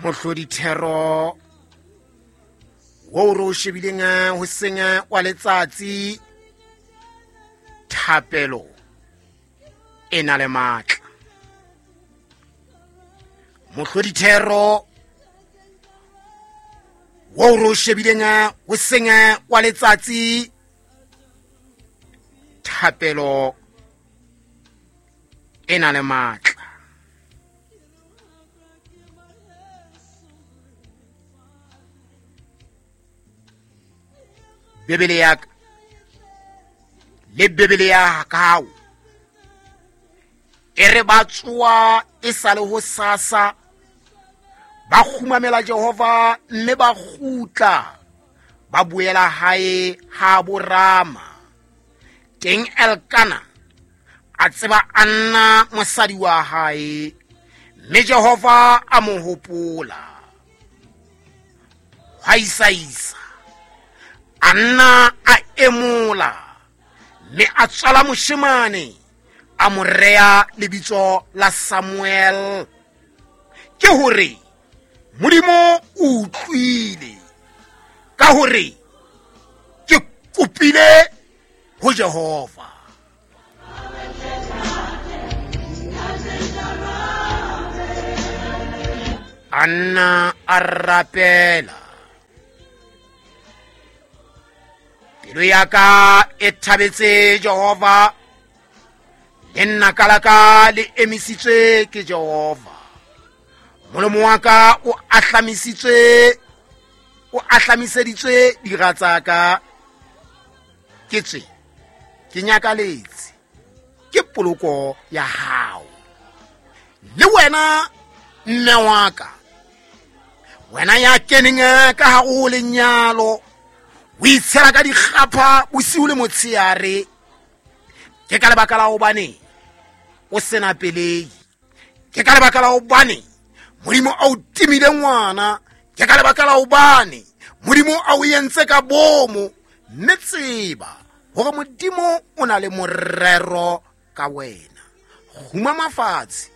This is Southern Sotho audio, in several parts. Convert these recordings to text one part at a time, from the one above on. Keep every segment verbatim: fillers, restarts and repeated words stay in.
Mohlodithero wo re o shebileng hoseng wa letsatsi, thapelo e na le matla. Mohlodithero wo re o shebileng hoseng wa letsatsi, thapelo e na le matla. Bibele ya ka le Bibele ya hao e re ba tsoa e sa le ho sasa, ba kgumamela Jehova mme ba kgutla ba boela hae ha borama. Teng Elkana a tseba Anna mosadi wa hae, mme Jehova a mo hopola. Hwa isaisa Anna a emola mme a tswala moshemane, a mo rea lebitso la Samuel, ke hore Modimo o utlwile, ka hore ke kopile ho Jehova. Anna a rapela. Pelo ya ka e thabetse Jehova, le nna ka la ka le emisitswe ke Jehova. Molomo wa ka o ahlamisitswe, o ahlamiseditswe dira tsa ka. Ke tswe ke nyakaletse ke poloko ya hao. Le wena mme wa ka, wena ya keneng ka hare ho lenyalo, o itshela ka dikgapha bosiu le motsheare, ke ka lebaka la hobane o sena pelei, ke ka lebaka la hobane Modimo a o timile ngwana, ke ka lebaka la hobane Modimo a o entse ka bomo. Mme tseba hore Modimo o na le morero ka wena. Kgumama fatshe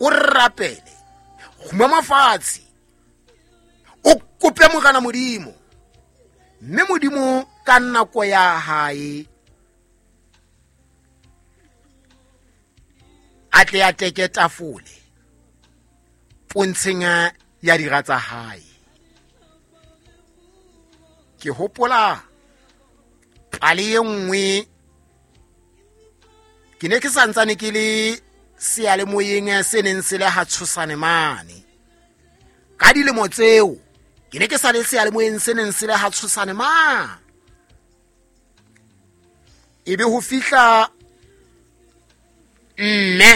o rapele, kgumama fatshe o kope Morena Modimo, mme Modimo ka nako ya hae a tle a teke tafole pontsheng ya dira tsa hae. Ke hopola pale e nngwe, ke ne ke santsane ke le seyalemoyeng se neng se le ha Tshosane mane. Ka dilemo tseo ke ne ke sa le seyalemoyeng se neng se le ha Tshosane mane. Ebe ho fihla mme,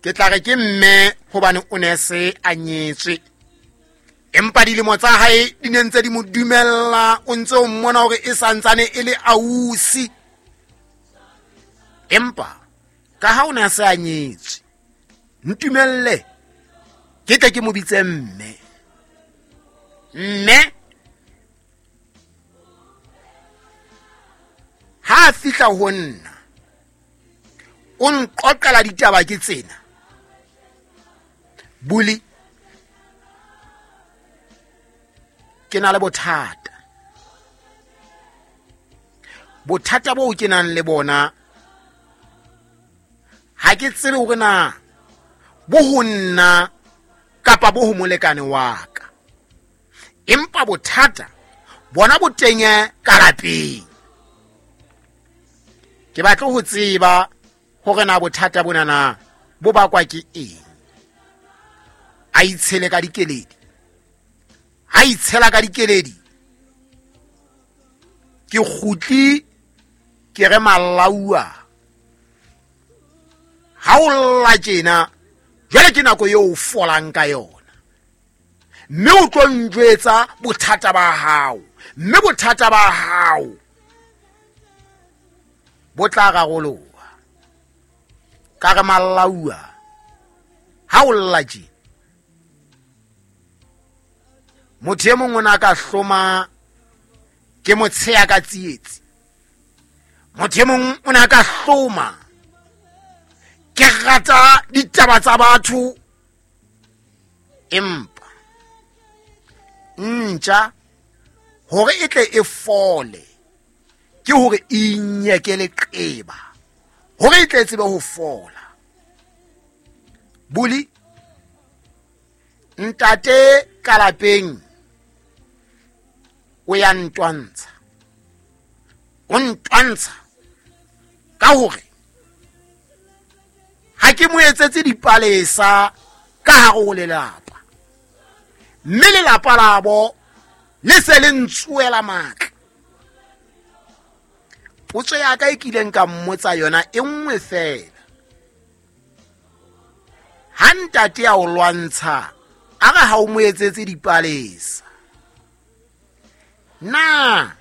ke tla re ke mme hobane o ne se a nyetswe, empa dilemo tsa hae di ne ntse di mo dumella, o ntse o mmona hore e santsane e le ausi. Empa ka ha o ne a se a nyetswe, ntumelle ke tle ke mo bitse mme. Mme ha a fihla ho nna, o nqoqela ditaba ke tsena. Buli, ke na le bothata. Bothata boo ke nang le bona ha ke tsebe hore na bo ho nna kapa bo ho molekane wa ka, empa bothata bona bo teng ka lapeng. Ke batla ho tseba hore na bothata bona na bo bakwa ke eng. A itshele ka dikeledi, a itshela ka dikeledi. Ke kgutli ke re malaua, ha o lla tjena jwale ke nako eo o folang ka yona, mme o tlo njwetsa bothata ba hao, mme bothata ba hao bo tla raroloha. Ka re malaua, ha o lla tjena, motho e mong o na ka hloma ke motsheya ka tsietsi, motho e mong o na ka hloma ke rata ditaba tsa batho. Empa ntja hore e tle e fole ke hore e inyeke leqeba hore e tle tsebe ho fola. Buli ntate ka lapeng o ya ntwantsha, o ntwantsha ka hore ha ke mo etsetse dipalesa ka hare ho lelapa, mme lelapa labo le se le ntsuela matla. Potso ya ka e kileng ka mmotsa yona e nngwe fela, ha ntate a o lwantsha a re ha o mo etsetse dipalesa, na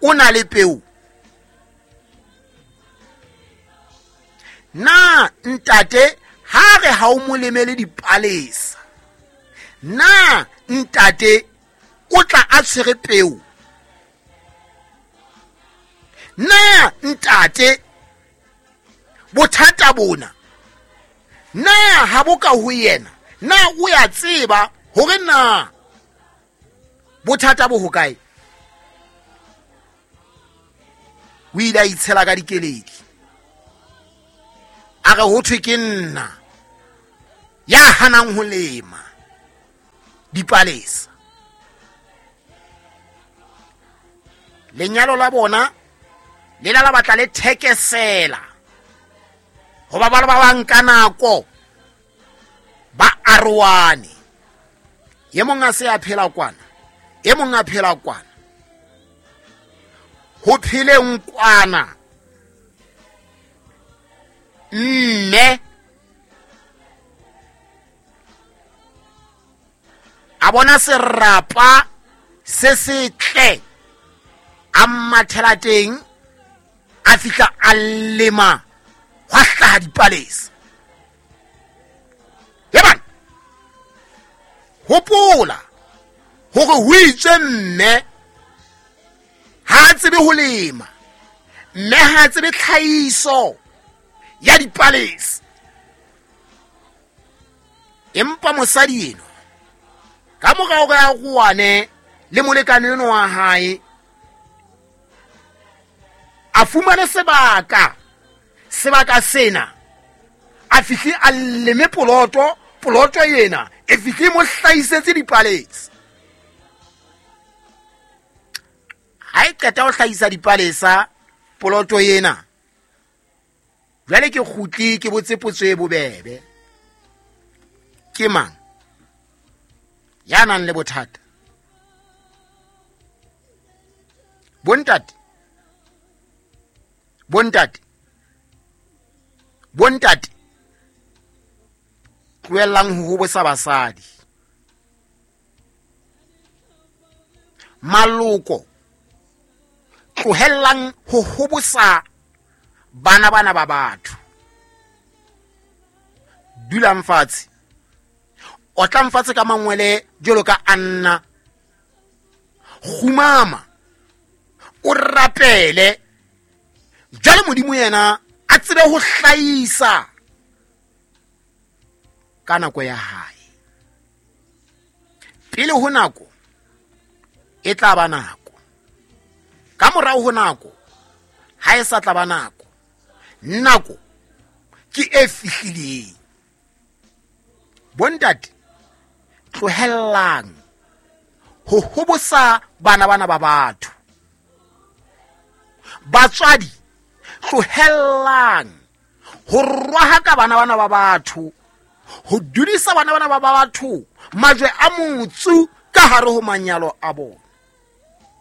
o na le peo? Na ntate ha re ha o mo lemele dipalesa, na ntate o tla a tshwere peo? Na ntate bothata bona na ha bo ka ho yena? Na o ya tseba hore na bothata bo hokae? O ile a itshela ka dikeledi, a re ho thwe ke nna ya hanang ho lema dipalesa. Lenyalo la bona le la la batla le thekesela hoba ba ba bang ka nako ba aroane. E mong a se a phela kwana, e mong a phela kwana, ho pheleng kwana mme a bona serapa se setle, a mathela teng, a fihla a lema, hwa hlaha dipalesa. Yebana hopola hore ho itswe mme ha a tsebe ho lema, mme ha a tsebe tlhahiso ya dipalesa. Empa mosadi eno ka mora hore a roane le molekane eno wa hae, a fumane sebaka, sebaka sena a fihle a leme poloto, poloto ena e fihle mo hlahisetse dipalesa. Ha e qeta ho hlahisa dipalesa poloto ena, jwale ke kgutli ke botse potso e bobebe, ke mang ya nang le bothata? Bontate, bontate, bontate, tlohellang ho hobosa basadi. Maloko, tlohellang ho hobosa bana bana ba batho. Dulang fatshe, otlang fatshe ka mangwele jwalo ka Anna, kgumama o rapele jwale Modimo yena a tsebe ho hlahisa ka nako ya hae. Pele ho nako e tla ba nako, ka morao ho nako ha e sa tla ba nako. Nako ke e fihlileng. Bontate, tlohellang ho hobosa bana bana ba batho. Batswadi, tlohellang ho rwahaka bana bana ba batho, ho dudisa bana bana ba batho majwe a motsu ka hare ho manyalo a bona.